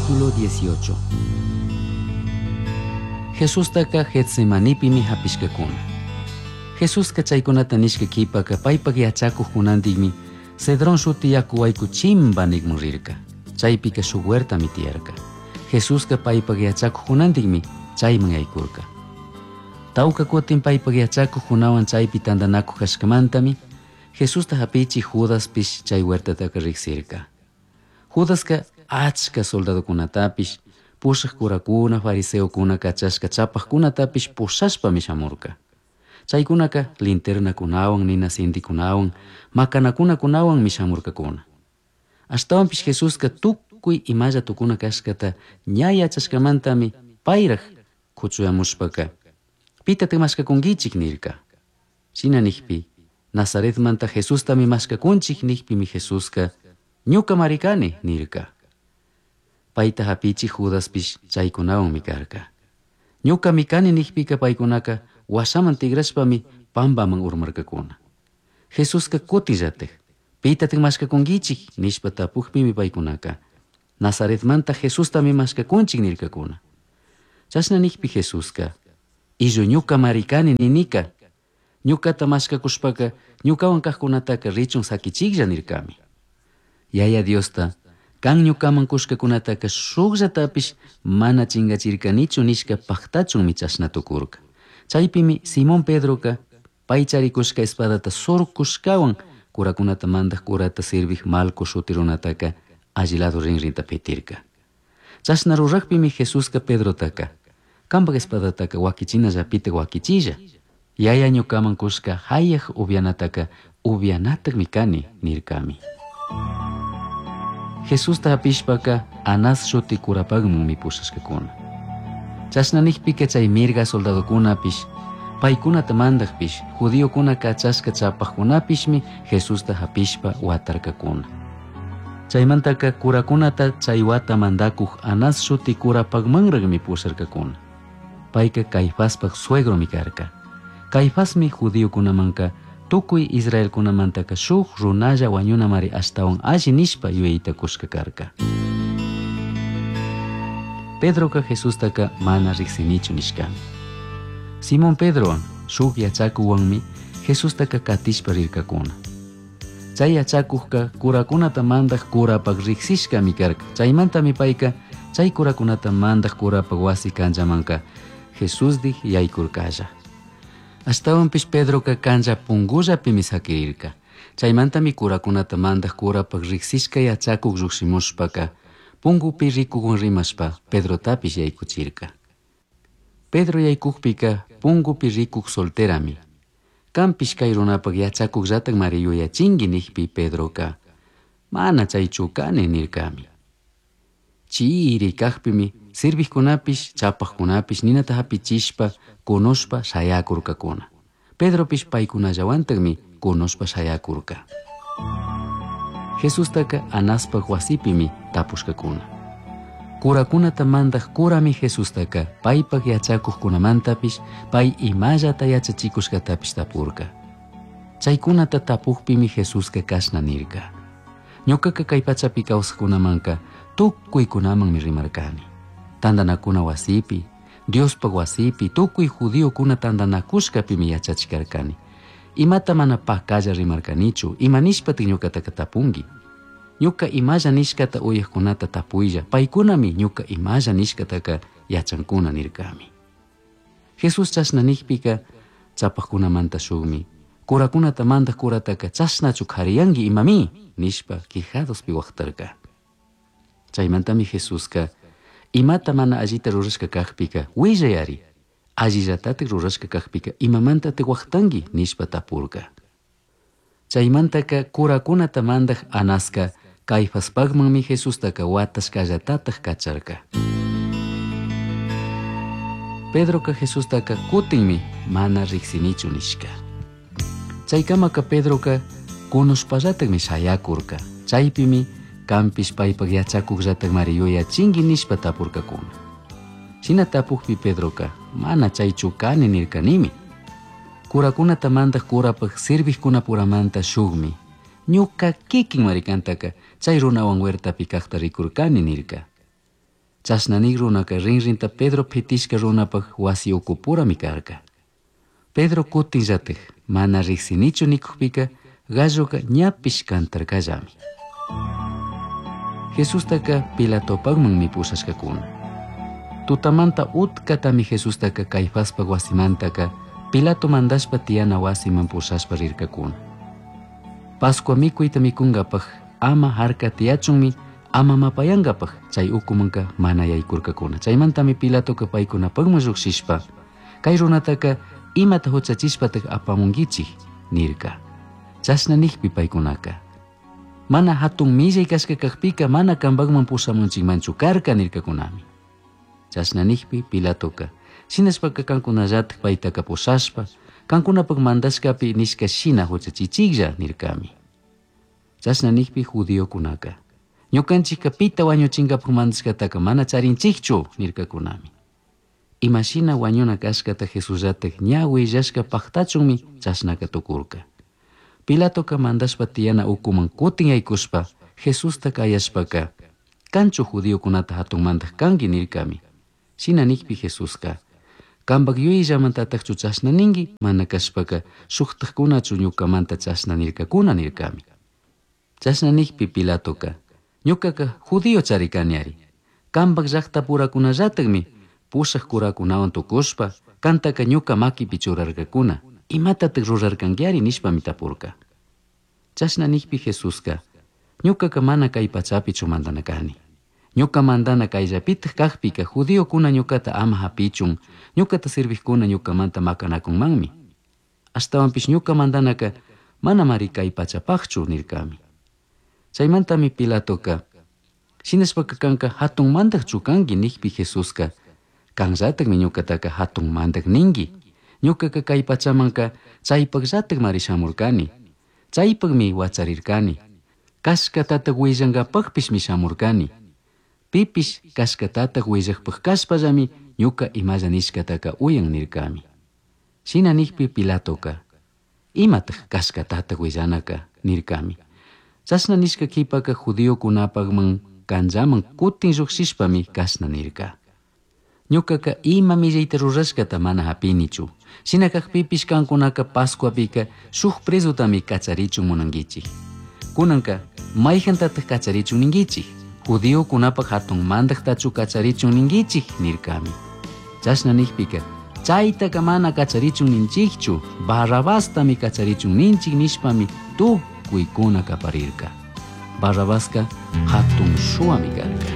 Capítulo 18. Jesustaca Getsemanipimi hapishkakuna. Jesuska chaykunata nishka kipaka paypak yachakuqkunantikmi Cedrón shuti yaku wayku chimba nikmun rirka. Chaypika shuk huertami tiyarka. Jesuska paypak yachakuqkunantikmi chayman yaykurka. Tawka kutin paypak yachakuqkunawan chaypi tantanakuq kashkamantami Jesusta hapichi Judaspish chay huertataka riqsirka. Judaska achka soldadokunatapish pushaq kurakuna, fariseokuna kachashka chapaqkunatapish pushashpami shamurka. Chaykunaka linternakunawan, nina sintikunawan, makanakunakunawanmi shamurkakuna. Ashtawanpish Jesuska tukuy imalla tukuna kashkata ña yachashkamantami payraq kuchuyamushpaka pitatik mashkakunkichik nirka. Shina nikpi Nazaretmanta Jesustami mashkakunchik nikpimi Jesuska ñukamari kani nirka. Payta hapichik Judaspish chaykunawanmi karka. Ñukami kani nikpika paykunaka washaman tigrashpami pampaman urmarkakuna. Jesuska kutinllatik pitatik mashkakunkichik nishpa tapukpimi paykunaka Nazaretmanta Jesustami mashkakunchik nirkakuna. Chashna nikpi Jesuska illu ñukamari kani ninika ñukata mashkakushpaka ñukawan kaqkunataka richun sakichiklla nirkami. Yaya Diosta kan ñukaman kushkakunataka shukllatapish mana chingachirkanichu nishka paktachunmi chashna tukurka. Chaypimi Simón Pedroka pay charikushka espadata surkushkawan kurakunata mandaq kurata serviq Malco shuti runataka alli lado rinrinta pitirka. Chashna ruraqpimi Jesuska Pedrotaka kanpak espadataka wakichinallapita wakichilla. Yaya ñukaman kushka hayaq upyanataka upyanatakmi kani nirkami. Jesusta hapishpaka Anás shuti kurapakmanmi pushashkakuna. Chashna nikpika chay mirga soldadokunapish paykunata mandaqpish judiokuna kachashka chapaqkunapishmi Jesusta hapishpa watarkakuna. Chaymantaka kurakunata chay wata mandakuq Anás shuti kurapakmanraqmi pusharkakuna. Payka Caifaspaq suegromi karka. Caifasmi judiokunamanka tukuy israelkunamantaka shuk runalla wañunamari ashtawan alli nishpa yuyayta kushka karka. Pedroka Jesustaka mana riqsinichu nishkami. Simón Pedrowan shuk yachakuwanmi Jesustaka katishpa rirkakuna. Chay yachakuqka kurakunata mandaq kurapaq riqsishkami karka. Chaymantami payka chay kurakunata mandaq kurapaq wasi kanchamanka Jesusdik yaykurkalla. Ashtawanpish Pedroka kancha pungullapimi sakirirka. Chaymantami kurakunata mandaq kurapaq riqsishka yachakuq lluqshimushpaka pungupi rikuqwan rimashpa Pedrotapish yaykuchirka. Pedro yaykukpika pungupi rikuq solterami. Kanpish kay runapak yachakuqllatakmari yuyachinki nikpi Pedroka mana chaychu kani nirkami. Chiri kaqpimi serviqkunapish chapaqkunapish ninata hapichishpa kunushpa shayakurkakuna. Pedropish paykunallawantakmi kunushpa shayakurka. Jesustaka Anaspaq wasipimi tapushkakuna. Kurakunata mandaq kurami Jesustaka paypak yachakuqkunamantapish pay imallata yachachikushkatapish tapurka. Chaykunata tapuqpimi Jesuska kashna nirka. Ñukaka kay pachapi kawsaqkunamanka tukuykunamanmi rimarkani. Tantanakuna wasipi, Diospaq wasipi, tukuy judiokuna tantanakushkapimi yachachikarkani. Imata mana pakalla rimarkanichu, ima nishpatik ñukataka tapunki. Ñuka imalla nishkata uyaqkunata tapuylla, paykunami ñuka imalla nishkataka yachankuna nirkami. Jesús chashna nikpika chapaqkunamanta shukmi kurakunata mandaq kurataka chashnachu qhariyanki imami nishpa quijadospi waqtarka. Chaymantami Jesuska imata mana allita rurashka kaqpika willayari allillatatik rurashka kaqpika imamantatik waqtanki nishpa tapurka. Chaymantaka kurakunata mandaq Anaska Caifaspaqmanmi Jesustaka watashkallatataq kacharka. Pedroka Jesustaka kutinmi mana riqsinichu nishka. Chaykamaka Pedroka kunushpallatakmi shayakurka. Chaypimi kanpish paypak yachakuqllatakmari yuyachinki nishpa tapurkakuna. Shina tapukpi Pedroka mana chaychu kani nirkanimi. Kurakunata mandaq kurapaq serviqkunapuramanta shukmi ñuka kikin marikantaka chay runawan huertapi kaqta rikurkani nirka. Chashna nik runaka rinrinta Pedro pitishka runapak wasi ukupurami karka. Pedro kutinllatik mana riksinichu nikukpika galloka ñapish kantarkallami. Jesustaka Pilatopakmanmi pushashkakuna. Tutamanta utkatami Jesustaka Caifaspak wasimantaka Pilato mandashpa tiyana wasiman pushashpa rirkakuna. Pascua mikuyta mikunkapak ama harka tiyachunmi ama mapayankapak chay ukumanka mana yaykurkakuna. Chaymantami Pilatoka paykunapakman lluqshishpa kay runataka imata huchachishpatak apamunkichik nirka. Chashna nikpi paykunaka mana hatun millay kashka kakpika mana kanpakman pushamunchikmanchu karka nirkakunami. Chashna nikpi Pilatoka shinashpaka kankunallatak paytaka pushashpa kankunapak mandashkapi nishka shina huchachichiklla nirkami. Chashna nikpi judiokunaka ñukanchikka pita wañuchinkapak mandashkataka mana charinchikchu nirkakunami. Imashina wañuna kashkata Jesusllatak ña willashka paktachunmi chashnaka tukurka. Pilatoka mandashpa tiyana ukuman kutin yaykushpa Jesusta kayashpaka kanchu judiokunata hatun mandak kanki nirkami. Shina nikpi Jesuska kanpak yuyayllamantatakchu chashna ninki mana kashpaka shuktakkunachu ñukamanta chashna nirkakuna nirkami. Chashna nikpi Pilatoka ñukaka judío charikaniari. Kanpak llaqtapurakunallatakmi pushak kurakunawan tukushpa kantaka ñuka makipi churarkakuna imatatak rurarkankiari nishpami tapurka. Chashna nikpi Jesuska ñukaka mana kay pachapichu mandana kani. Ñuka mandana kayllapitak kakpika judiokuna ñukata ama hapichun ñukata servikkuna ñukamanta makanakunmanmi. Ashtawanpish ñuka mandanaka manamari kay pachapakchu nirkami. Chaymantami Pilatoka shinashpaka kanka hatun mandakchu kanki nikpi Jesuska kanllatakmi ñukataka hatun mandak ninki. Ñukaka kay pachamanka chaypakllatakmari shamurkani. Chaypakmi wacharirkani. Kashkatatak willankapakpishmi shamurkani. Pipish kashkatatak willakpak kashpallami ñuka imalla nishkataka uyan nirkami. Shina nikpi Pilatoka imatak kashkatatak willanaka nirkami. Chashna nishka kipaka judiokunapakman kanllaman kutin lluqshishpami kashna nirka. Ñukaka ima millayta rurashkata mana hapinichu. Shina kakpipish kankunaka Pascuapika shuk prezutami kacharichun munankichik. Kunanka mayhantatak kacharichun ninkichik. Judiokunapak hatun mandaktachu kacharichun ninkichik nirkami. Chashna nikpika chaytaka mana kacharichun ninchikchu, Barrabastami kacharichun ninchik nishpami tukuykuna kaparirka. Barrabaska hatun shuwami karka.